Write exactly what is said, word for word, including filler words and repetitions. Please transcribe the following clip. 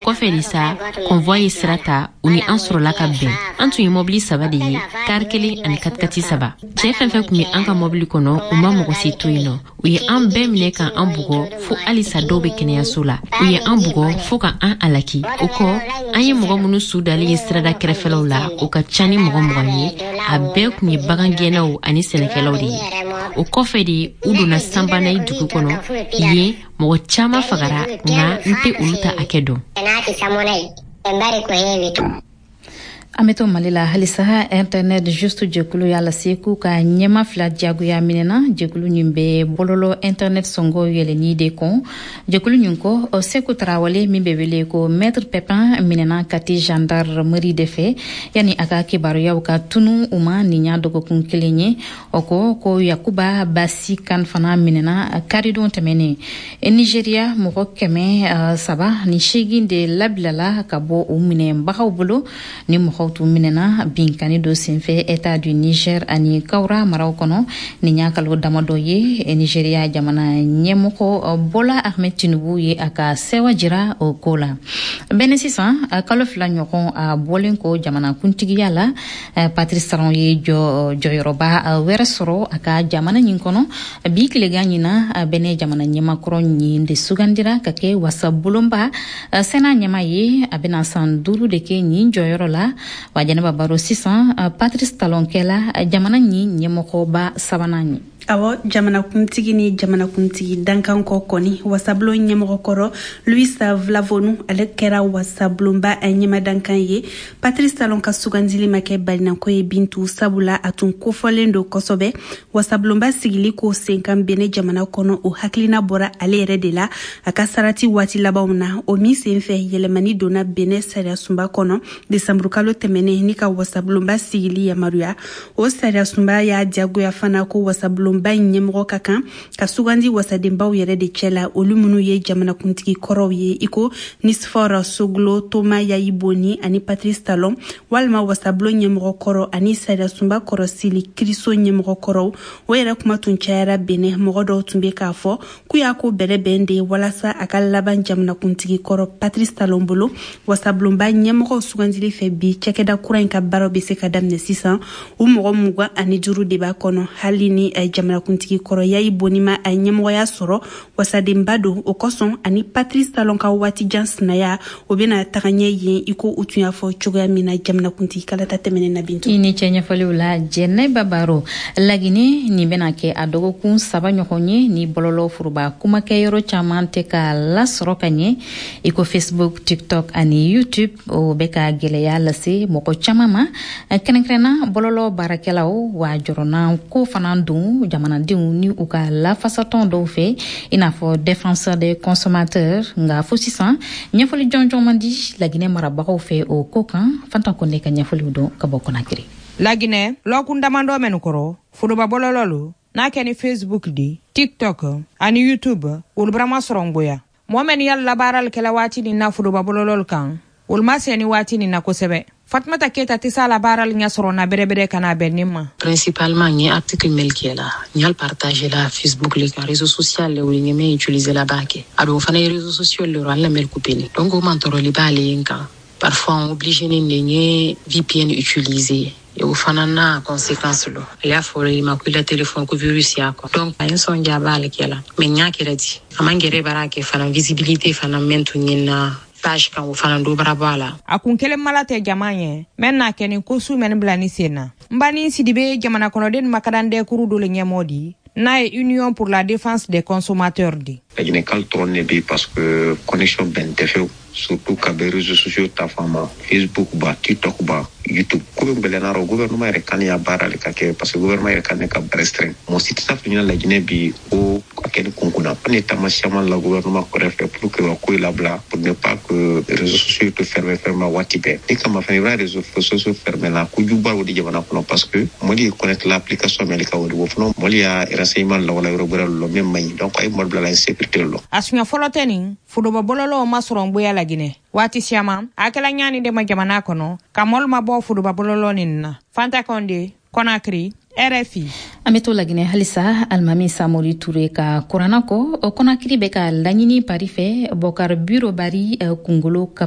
Kɔfɛ de sa, convoi ye sira ta, u ni an sɔrɔla ka bɛn. An tun ye mɔbili saba de ye, kari kelen ani katikati saba. Cɛɛ fɛn fɛn tun be an ka mɔbili kɔnɔ, u ma mɔgɔ si to yen nɔ. U ye an bɛɛ minɛ ka an bugɔ, fo halisa dɔw be kɛnɛyaso la. U ye an bugɔ fɔɔ ka an alaki. O kɔ, an ye mɔgɔ minnu su dalen ye sirada kɛrɛfɛlaw la, o ka ca ni mɔgɔ mugan ye. A bɛɛ tun ye bagangɛnnaw ani sɛnɛkɛlaw de ye. O kɔfɛ de, u donna Sanbanayi dugu kɔnɔ. Yen, mɔgɔ caaman fagara, nka n tɛ olu ta hakɛ dɔn. An bɛ to Mali la halisa. Internet Juste jɛkulu y'a lase k'u ka ɲɛma fila diyagoya minɛna. Jɛkulu ɲin bɛ bɔlɔlɔ internet sɔngɔ yɛlɛni de kɔn. Jɛkulu ɲin kɔ, Seku Tarawale min bɛ wele ko Maître Pepin minɛna Kati gendarmerie de fɛ yani a ka kibaruyaw ka tunu u ma nin y'a dɔgɔkun kelen ye. O kɔ ko Yakuba Basi kan fana minɛna karidon tɛmɛnen. Nigeria, mɔgɔ kɛmɛ saba ni seegin de labilala ka bɔ u minɛbagaw bolo. Ni mɔgɔw tun minɛna binkani dɔ senfɛ État du Niger ani Kawra maraw kɔnɔ nin y'a kalo damadɔ ye. Nigeria jamana ɲɛmɔgɔ Bola Ahmed Tinubu ye a ka sɛwa jira o ko la. Bɛnɛ sisan, kalo fila ɲɔgɔn a bɔlen ko jamana kuntigiya la, Patrice Talon ye jɔ jɔyɔrɔba wɛrɛ sɔrɔ a ka jamana ɲin kɔnɔ. Bi tilegan ɲina, Bɛnɛ jamana ɲɛmakɔrɔ ɲin de sugandira ka kɛ wasabulonba Sénat ɲɛma ye. A bɛna san duuru de kɛ ɲin jɔyɔrɔ la. Wa Jɛnɛba Baro, sisan Patrice Talon kɛla jamana ɲin ɲɛmɔgɔba sabanan ye. Awɔ, jamanakuntigi ni jamanakuntigi dankan kɔ kɔni, wasabulon ɲɛmɔgɔkɔrɔ Louis Vlavonu, ale kɛra wasabulonba ɲɛmadankan ye. Patrice Talon ka sugandili ma kɛ balinako ye, Bintu, sabula a tun kofɔlen don kosɛbɛ. Wasabulonba sigili ko senkan Bene jamana kɔnɔ, o hakilina bɔra ale yɛrɛ de la a ka sarati waati labanw na. O min sen fɛ, yɛlɛmani donna Bene sariyasunba kɔnɔ desanburukalo tɛmɛnen ni ka wasabulonba sigili yamaruya. O sariyasunba y'a diyagoya fana ko wasabulon ba in ɲɛmɔgɔ ka kan ka sugandi wasadenbaw yɛrɛ de cɛ la, olu minnu ye jamanakuntigi kɔrɔw ye, i ko Nicéphore Soglo, Thomas Yayi Boni ani Patrice Talon, walima wasabulon ɲɛmɔgɔ kɔrɔ ani sariyasunba kɔrɔsili kiriso ɲɛmɔgɔ kɔrɔw. O yɛrɛ kuma tun cayara Benɛ. Mɔgɔ dɔw tun bɛ k'a fɔ k'u y'a ko bɛrɛbɛn de walasa a ka laban jamanakuntigi kɔrɔ Patrice Talon bolo. Wasabulonba ɲɛmɔgɔw sugandili fɛ bi, cakɛda kura in ka baaraw bɛ se ka daminɛ sisan. U mɔgɔ mugan ani duuru de b'a kɔnɔ. Hali ni jamanakuntigi kɔrɔ Yayi Boni ma a ɲɛmɔgɔya sɔrɔ, wasadenba don. O kosɔn, ani Patrice Talon ka waati jan sinaya, o bɛna taga ɲɛ yen, i ko u tun y'a fɔ cogoya min na jamanakuntigi kalata tɛmɛnen na, Bintu. I ni cɛ ɲɛfɔliw la, Jɛnɛba Baro. Lagine, nin bɛna kɛ a dɔgɔkun saba ɲɔgɔn ye ni bɔlɔlɔ foroba kumakɛyɔrɔ caman tɛ ka lasɔrɔ ka ɲɛ, i ko Facebook, TikTok ani YouTube. O bɛ ka gwɛlɛya lase mɔgɔ caman ma, kɛrɛnkɛrɛnna bɔlɔlɔ baarakɛlaw. Wa jɔrɔna ko fana don jamanadenw ni u ka lafasatɔn dɔw fɛ, i n'a fɔ Défenseur des consommateurs. Nka fo sisan, ɲɛfɔli jɔnjɔn man di Laginɛ marabagaw fɛ o ko kan. Fanta Kɔnde ka ɲɛfɔliw dɔn ka bɔ Kɔnakiri. Laginɛ, lɔkun damadɔ mɛnu kɔrɔ, foroba bɔlɔlɔ lo n'a kɛ ni Facebook di, TikTok ani YouTube, olu barama sɔrɔ ngboya. Mɔɔ mɛn ni y'a labaarali kɛla waati nin na foroba bɔlɔlɔlu kan, olu ma sɛni waati nin na kosɛbɛ. Fatumata Keta tɛ s'a la baarali ɲɛ sɔrɔ na bɛrɛbɛrɛ ka na bɛn nin ma. Principalement, n ye article mel kɛ la, n y'a partager la Facebook le kan, réseau social le, o ye n utiliser la b'a kɛ. A don fana ye réseau social le rɔ, an la mel coupé ni. Donc o man tɔɔrɔli b'ale yen kan. Parfois on obligé ni de n ye V P N utiliser. O fana n'a conséquence lo. Ale y'a fɔ i ma ko i la téléphone ko virus y'a kɔ. Donc a ye n sɔn ja b'ale kɛ la. Mais n y'a kɛra di. A man gɛrɛ baara kɛ fana, visibilité fana mɛn tun ye na page kan, o fana do bara bɔ a la. A kun kelen mala tɛ jama ɲɛ mɛn n'a kɛ ni ko su mɛn bila ni sen na. N ba ni Sidibe, jamana kɔnɔden makadandɛkuru dɔ le ɲɛmɔgɔ di n'a ye Union pour la défense des consommateurs di. Laginɛkal dɔrɔn de bɛ, parce que connexion bɛn tɛ fewu, surtout ka bɛ réseaux sociaux ta fan ma, Facebook ba, TikTok ba, YouTube. Ko bɛ gwɛlɛya rɔ, gouvernement yɛrɛ kan ya baara le ka kɛ, parce que gouvernement yɛrɛ kan ne ka restreint. Mɔgɔ si tɛ s'a fɔ ɲɛna Laginɛ bi ko a kɛ ni kunkunna. An ye taama siaman la gouvernement kɔrɛ fɛ pour que ka ko labila, pour ne pas que réseaux sociaux to fermer fermer waati bɛɛ. Ni kama fɛnɛ i b'a réseaux sociaux fermer la, kojuguba o de jamana kɔnɔ, parce que mɔli ye connaître l'application mɛli ka o de o fana mɔli y'a renseignement lawala yɔrɔ gwɛrɛ lɔ min man ɲi. Donc a ye mɔli bila la insécurité lɔ. A siɲɛ fɔlɔ tɛ nin foroba bɔlɔlɔw ma sɔrɔ ngboya Laginɛ. Waati siaman a kɛla ɲaani de ma jamana kɔnɔ ka mɔlu ma bɔ foroba bɔlɔlɔ nin na. Fanta Kɔnde, Kɔnakiri, R F I. An bɛ to Laginɛ halisa. Alimami Samori Ture ka kuranna kɔ, Kɔnakiri bɛ ka laɲini pari fɛ Bɔkar Biro Bari kungolo kafa.